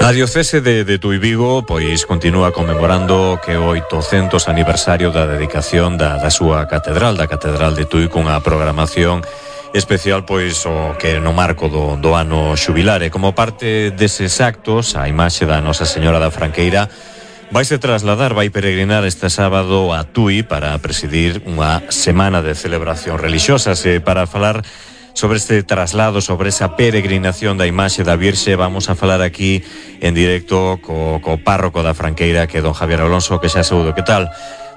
A diocese de Tui Vigo pois continúa conmemorando que o 800 aniversario da dedicación da súa catedral, da Catedral de Tui, cunha programación especial pois o que no marco do ano xubilar. E como parte deses actos, a imaxe da Nosa Señora da Franqueira vaise trasladar, vai peregrinar este sábado a Tui para presidir unha semana de celebración religiosas. E para falar sobre este traslado, sobre esa peregrinación da imaxe da Virxe, vamos a falar aquí en directo co párroco da Franqueira, que é don Javier Alonso, que xa saúdo. Que tal?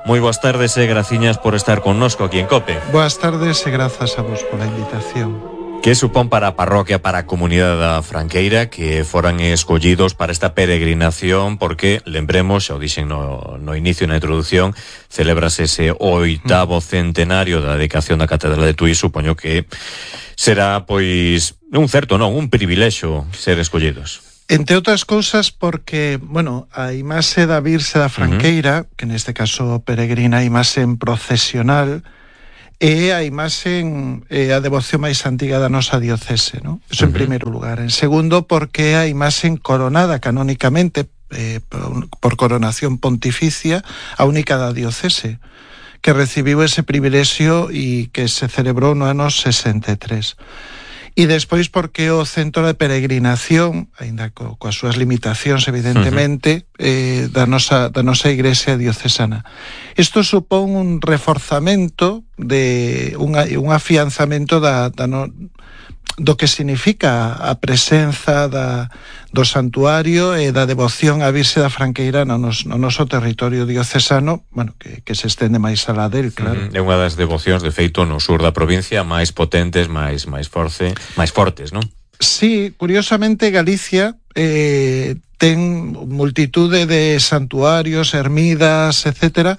Moi boas tardes e graciñas por estar connosco aquí en COPE. Boas tardes e grazas a vos pola invitación. Que supón para a parroquia, para a comunidade da Franqueira que foran escollidos para esta peregrinación? Porque, lembremos, xa o dixen no inicio, na introducción, celebrase ese 8º centenario da dedicación da Catedral de Tui. Supoño que será, pois, un privilexio ser escollidos. Entre outras cousas porque, a imaxe da Virxe da Franqueira, que neste caso peregrina a imaxe en procesional, é a imaxe, a devoción máis antiga da nosa diocese, non? Eso en primeiro lugar. En segundo, porque é a imaxe coronada canónicamente por coronación pontificia, a única da diocese, que recibiu ese privilexio e que se celebrou no ano 63. E despois porque o centro de peregrinación, aínda coas súas limitacións evidentemente, da nosa igrexa diocesana. Isto supón un reforzamento un afianzamento do que significa a presenza do santuario e da devoción á Virxe da Franqueira no noso territorio diocesano, que se estende máis alá del, claro. É unha das devocións, de feito, no sur da provincia máis potentes, máis fortes, non? Sí, curiosamente Galicia ten multitude de santuarios, ermidas, etcétera,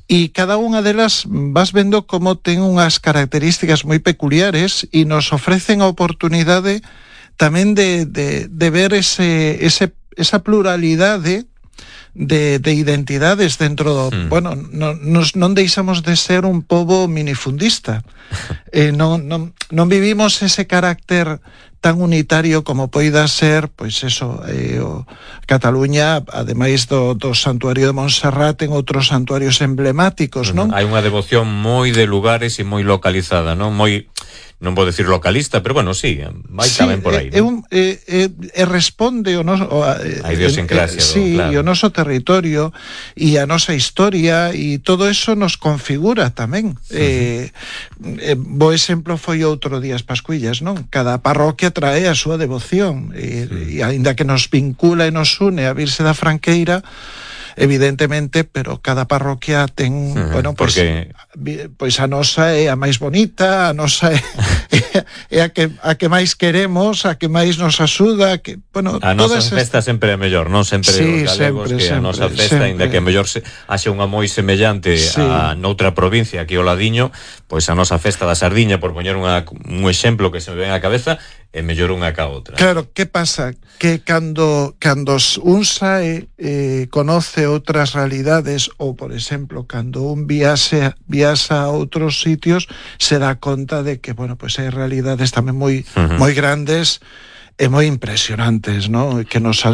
e cada unha delas vas vendo como ten unhas características moi peculiares e nos ofrecen a oportunidade tamén de ver esa pluralidade de identidades dentro do... non deixamos de ser un pobo minifundista. Non vivimos ese carácter tan unitario como poida ser, Cataluña, ademais do santuario de Montserrat, ten outros santuarios emblemáticos, non? Hai unha devoción moi de lugares e moi localizada, non? Non vou decir localista, pero sí, vai tamén por aí, non? Responde a idiosincrasia, claro. E o noso territorio e a nosa historia e todo eso nos configura tamén. Bo exemplo foi outro día as Pascuillas, non? Cada parroquia trae a súa devoción e aínda que nos vincula e nos une a Virxe da Franqueira, evidentemente, pero cada parroquia ten, pois a nosa é a máis bonita, a nosa é a que máis queremos, a que máis nos axuda, a nosa festa sempre é mellor, non? Sempre os galegos que a nosa festa, ainda que mellor haxe unha moi semellante a noutra provincia, aquí ao ladiño, pois a nosa festa da Sardiña, por poñer un exemplo que se me ven á cabeza, é mellor unha ca outra. Claro, que pasa? Que cando un sae conoce outras realidades, ou, por exemplo, cando un viaxa a outros sitios, se dá conta de que, hai realidades tamén moi grandes e moi impresionantes, non? Que nos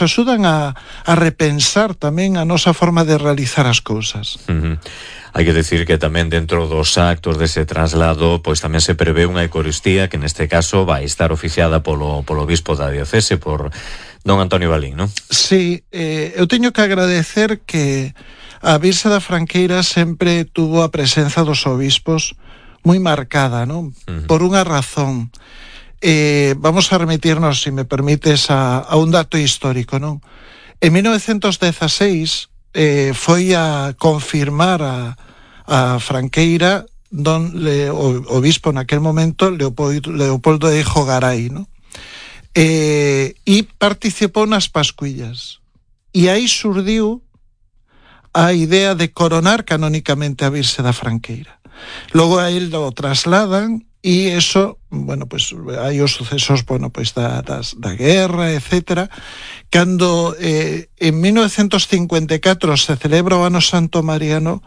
axudan a repensar tamén a nosa forma de realizar as cousas. Hai que decir que tamén dentro dos actos dese traslado, pois tamén se prevé unha eucaristía que neste caso vai estar oficiada polo bispo da diocese, por don Antonio Balín, non? Sí, eu teño que agradecer que a Virxe da Franqueira sempre tuvo a presenza dos obispos moi marcada, non? Por unha razón. Vamos a remitirnos, se me permites, a un dato histórico, non? En 1916 foi a confirmar a Franqueira o obispo naquel momento, Leopoldo de Jogaray, non? E participou nas Pascuillas. E aí surdiu a idea de coronar canónicamente a Virxe da Franqueira. Logo a él lo trasladan e eso, hai os sucesos, da guerra, etcétera. Cando en 1954 se celebra o Ano Santo Mariano,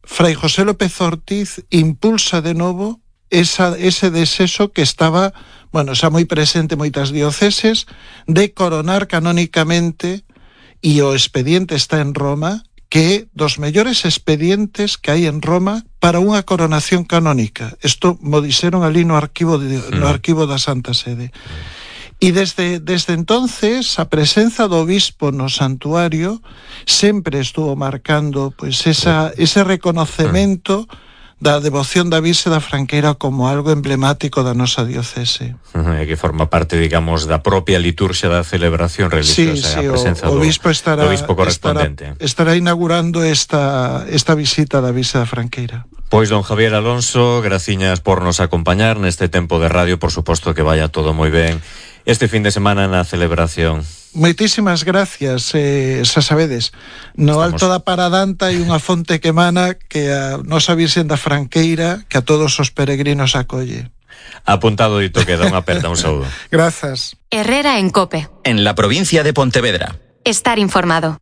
Fray José López Ortiz impulsa de novo ese desexo que estaba, bueno, xa moi presente en moitas dioceses, de coronar canónicamente, e o expediente está en Roma, que é dos mellores expedientes que hai en Roma para unha coronación canónica. Isto mo dixeron ali no arquivo da Santa Sede. E desde entonces a presenza do obispo no santuario sempre estuvo marcando pois ese reconocemento da devoción da Virxe da Franqueira como algo emblemático da nosa diocese. Que forma parte, digamos, da propia liturxia da celebración religiosa, a presenza do obispo correspondente. Estará inaugurando esta visita da Virxe da Franqueira. Pois, don Javier Alonso, graciñas por nos acompañar neste tempo de radio, por suposto que vaya todo moi ben este fin de semana na celebración. Moitísimas gracias, xa sabedes, no Alto da Paradanta hai unha fonte que emana que a nosa Virxen da Franqueira que a todos os peregrinos acolle. Apuntado dito queda, unha aperta, un saúdo. Grazas. Herrera en COPE. En la provincia de Pontevedra. Estar informado.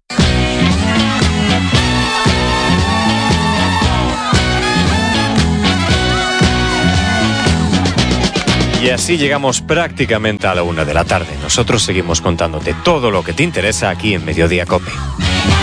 Y así llegamos prácticamente a la 1 de la tarde. Nosotros seguimos contándote todo lo que te interesa aquí en Mediodía COPE.